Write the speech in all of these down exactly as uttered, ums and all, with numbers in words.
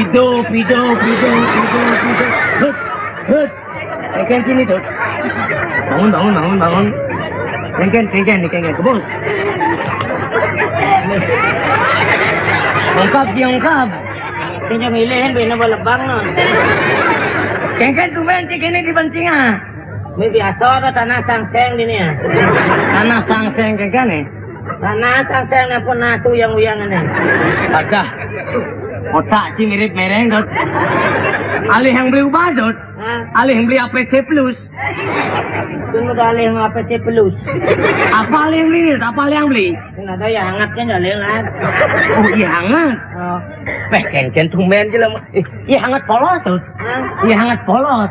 Hidup, hidup, hidup, hidup, hidup. Hut, hut. Kengken sini, Dut. Bangun, bangun, bangun, bangun. Kengken, kengken, kengken. Kebun. Ungkap, dia ungkap. Sing milih kan bina lebang no. Kengken tumben cik ini di bensinga. Ini biasa ada tanah sangseng di ni ya. Tanah sangseng kengken ni. Tanah sangseng ni pun nasu yang uyang ni. Ada. Otak si mirip mereng, Dut. Alih yang beli ubah, Dut. Hah? Alih yang beli A P C Plus. Itu udah alih yang A P C Plus. Apa alih yang beli, Dut? Apa alih yang beli? Ini ada yang hangat kan, alih lah. Oh, iya hangat. Oh. Peh, kengken tumben je lah. Eh, iya hangat polos, Dut. Hah? Iya hangat polos.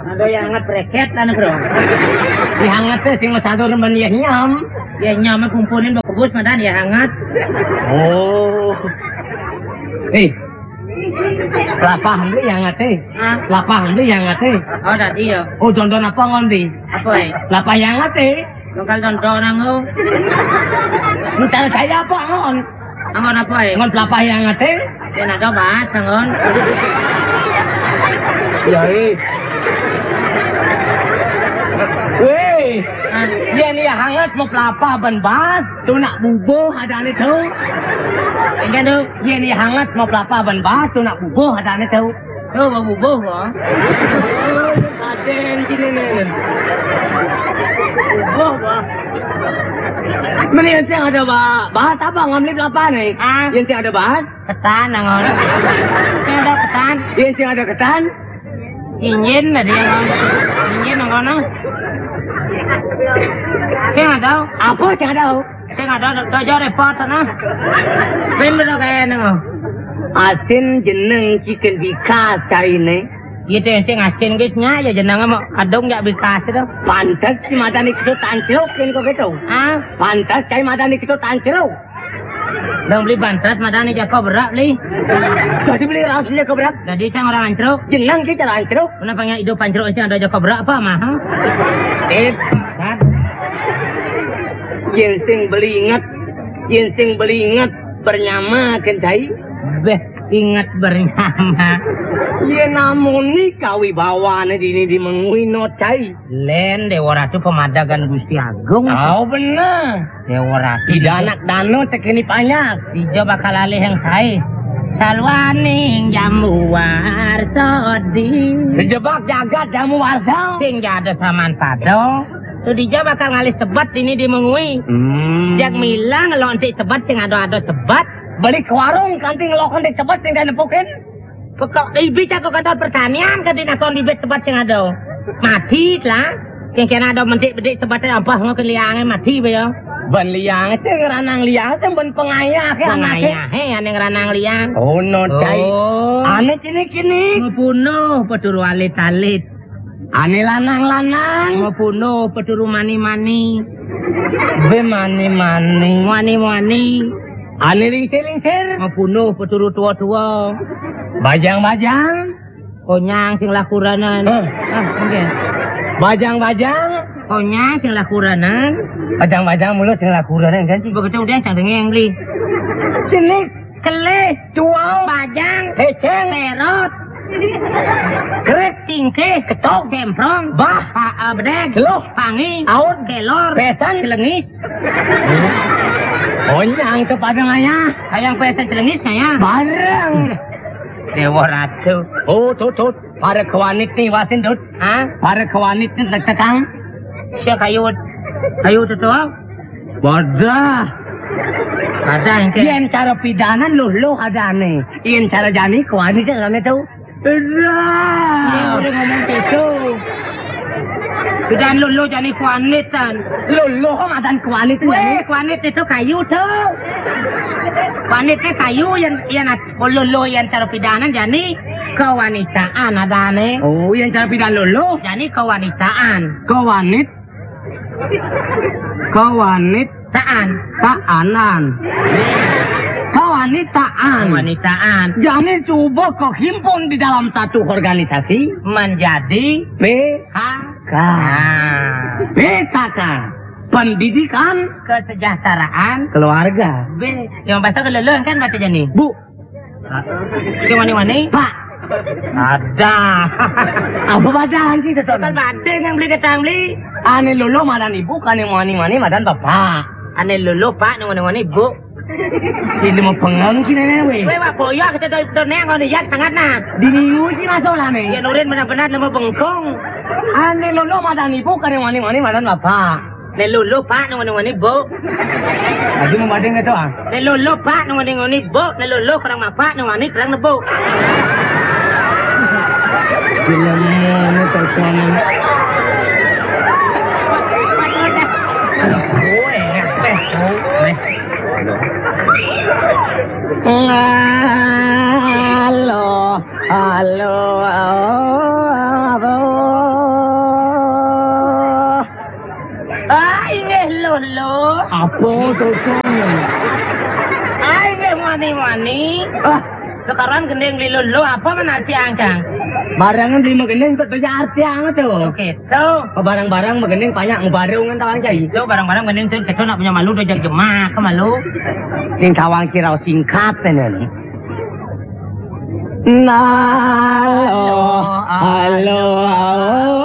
Ada yang hangat breket lah, bro. Iya hangat teh sing masadur men iya nyam. Iya nyam kumpulin bos madan iya hangat. Oh. Eh, lapah beli yang ngate. Hah? Lapah beli yang ngate. Oh, tadi ya. Oh, tonton apa ngondi? Apa eh? Lapah yang ngate. Bakal tonton aku. Ntar saya apa ngon? Angon apa eh? Ngon pelapah yang ngate. Dia nak bahas angon. Ya eh. Weh. Hah? Iya ni hangat mau pelapah ban bahas. Tu nak bubuh ada ni tu. Enggak tu. Iya ni hangat mau pelapah ban bahas. Tu nak bubuh ada ni tu. Oh, bang bubuh, bang. Oh, ada yang sini ni. Bubuh, bang. Meni yang sing ada ba-, bahas apa? Ngambil apa ni? Ah. Yang sing ada bahas? Ketan, nangon. Sing ada ketan. Yang sing ada ketan? Injin tadi yang ngomong. Injin nangon. Sing ada. Apa sing ada? Sing ada dojo repot nah. Pin bener kayak nang. Asin jeneng chicken bikas cari ne. Gitu yang sing asin guys nya ya jeneng mau adung ya bikas itu. Pantes si mata ni kita tancruk kan kok gitu. Ah, pantes cari mata ni kita tancruk. Dong beli pantes mata ni jago berak beli. Jadi beli raus jago berak. Jadi cang orang ancruk. Jeneng kita ancruk. Kenapa nggak hidup ancruk sih ada jago berak apa mah? Eh, kan? Yen sing beli inget, yen sing beli inget bernyama kentai. Beh, inget bernyama. Yen namuni kawibawane dini di mengui no cai. Len Dewa Ratu pemadagan Gusti Agung. Oh bener. Dewa Ratu. Tidak anak dano tekeni panjak. Ijo bakal alih yang sae. Salwaning jamu warsa di. Dijebak jagat jamu warsa. Sing jada saman padha. Tuh dija bakal ngalih sebat ini di mengui. Hmm. Jak milang lontik sebat sing ado-ado sebat. Beli ke warung kanti ngelokon di sebat sing nepukin. Pokok ibi cak kantor pertanian kan dinakon bibit sebat sing ado. Mati lah. Yang kena ada mentik bedik sebat apa ngoke liange mati be ya. Ban liang sing ranang liang sing ban pengayah ke anake. Pengayah he ane ranang liang. Oh no cai. Oh. Ane kini kini. Ngepunuh peturu alit-alit. Ane lanang-lanang. Mapuno peturu mani-mani. Be mani-mani. Mani-mani. Ane lingsir-lingsir. Mapuno peturu tua-tua. Bajang-bajang. Konyang sing lakuranan. Hah? Ah, oke. Bajang-bajang. Konyang sing lakuranan. Bajang-bajang mulu sing lakuranan kan sih. Begitu udah cang dengeng beli. Jenis. Kelih. Cuau. Bajang. Heceng. Terot. Kerek. Tingkih. Ketok. Semprong. Bah. Pa, eh, bedeg. Seluh. Pangi. Aut. Kelor. Pesan. Celengis. Onyang ke Padang Ayah. Hayang pesan celengis kaya. Bareng. Dewa Ratu. Oh, tut, tut. Para kewanit nih, wasin, tut. Hah? Para kewanit nih, tek-tekang. Sia kayu. Kayu tuh, tuh. Wadah. Ada yang kayak. Yen cara pidanan loh, loh ada aneh. Yen cara jani kewanit kan aneh tuh. Dah. Dia udah ngomong gitu. Pidan lulu jani kuanitan. Lulu kok madan kuanit. Weh, kuanit itu kayu tuh. Kuanit itu kayu yang yang lulu yang cara pidanan jani kewanitaan adane. Oh, yang cara pidan lulu. Jani kewanitaan. Kewanit. Kewanit. Taan. Taanan. Kewanitaan. Kewanitaan. Jangan coba kau himpun di dalam satu organisasi. Menjadi P K. Nah. P K K. Pendidikan. Kesejahteraan. Keluarga. B. Yang bahasa kelelon kan baca jani. Bu. Sing wani-wani. Pak. Ada. Apa badang sih, Teton? Kan badang yang beli ketang beli. Ane lolo madan ibu, ane wani-wani madan bapak. Ane lolo pak, ane wani-wani ibu. Ini mau pengang sih, Nenek, weh. Weh, wak boyok, kita tuh, tuh, Neng, ngono ya, sangat nah. Di minggu sih masuk lah, Neng. Ya, nurin benar-benar lemah bengkong. Ane lolo madan ibu, ane wani-wani madan bapak. Ane lolo pak, ane wani-wani ibu. Lagi mau badang itu, ah. Ane lolo pak, ane wani-wani ibu. Ane lolo kurang bapak, ane wani kurang nebo. Film mana terkenal? Oh, eh, eh, oh, eh. Halo, halo, halo. Ah, inggih lolo. Apa, Teton? Ah, inggih wani-wani. Ah. Sekarang gending beli lolo, apa menarci angcang? Barang beli magending, kok tuh arti anget tuh. Oke, tuh. Barang-barang magending banyak ngebarung kan, tawang cai. Tuh, barang-barang gending tuh, kita nak punya malu, tuh, jangan gemak, malu. Sing tawang kira singkat, Nenek. Nah, halo, halo, halo.